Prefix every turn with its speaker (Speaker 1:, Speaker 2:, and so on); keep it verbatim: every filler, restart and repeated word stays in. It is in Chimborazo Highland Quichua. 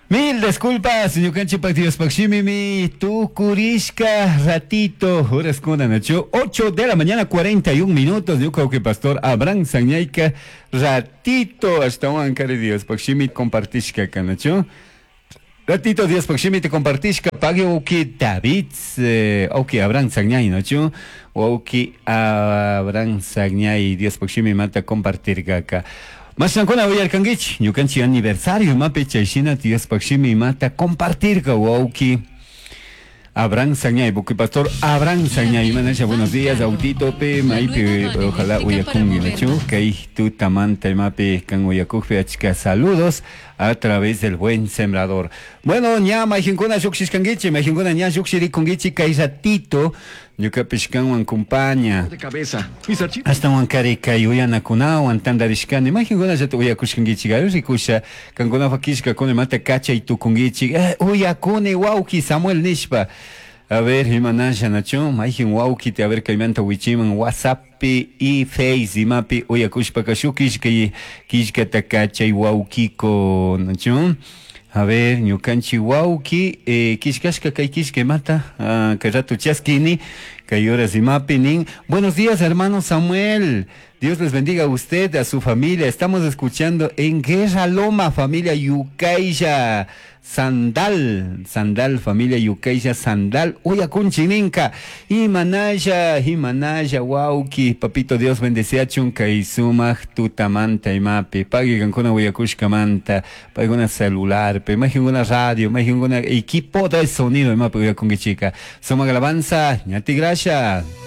Speaker 1: Mil disculpas, ñukanchikpak Diospaq shimimi tukurishka ratito, horas nacho, ocho de la mañana, cuarenta y un minutos, ñuka pastor Abraham Sañayka ratito ashtawan kari Diospaq shimi compartishka kanacho. Ratito Diospaq shimita compartishka pagui wawki David, eh, wawki Abraham Sañay, nacho, wawki Abraham Sañay Diospaq shimimanta compartirkaka. Mashankuna uyarkankichik, ñukanchik aniversario imapi chayshina Diospaq shimimanta compartirka wawki Abraham Sañay, buki pastor Abraham Sañay, manasha buenos días, autito pe, maypi, ojalá uyakungi, nachu, kay tutamanta imapi kan uyakukpi achka saludos a través del Buen Sembrador. Bueno, ña mayqinkuna lluqshishkankichik, mayqinkuna ña lluqshirikunkichik kay ratito, ñukapish kanwan compaña.
Speaker 2: De cabeza. Mis archivos.
Speaker 1: Ashtawan kari kay uyanakunawan tantarishkani mayqinkunallata uyakushkankichik ayo rikusha kankunapaq killkakuna imata kachay tukunkichik eh, uyakuni wawki Samuel nishpa. A ver, imanasha nachu mayqin wawkita, a ver, kaymanta wichiman WhatsApppi y Face imapi uyakushpaka shuk killka killkata kachay wawkiko nachu. A ver, ñukanchik wawki eh, killkashka kay killka imata ah, kay rato chaskini kay horas imapi nin: "Buenos días, hermano Samuel. Dios les bendiga a usted, a su familia. Estamos escuchando en Guerra Loma, familia Yucailla Sandal, Sandal, familia Yucailla Sandal, uyakunchik ninka". Imanalla, imanalla, wawki, papito Dios bendeciachun kay sumaq tutamanta imapi, pagui kankuna uyakushkamanta, paykuna celular, pe, mayqinkuna radio, mayqinkuna equipo de sonido imapi uyakunkichika. Sumaq alabanza, ñati gracias.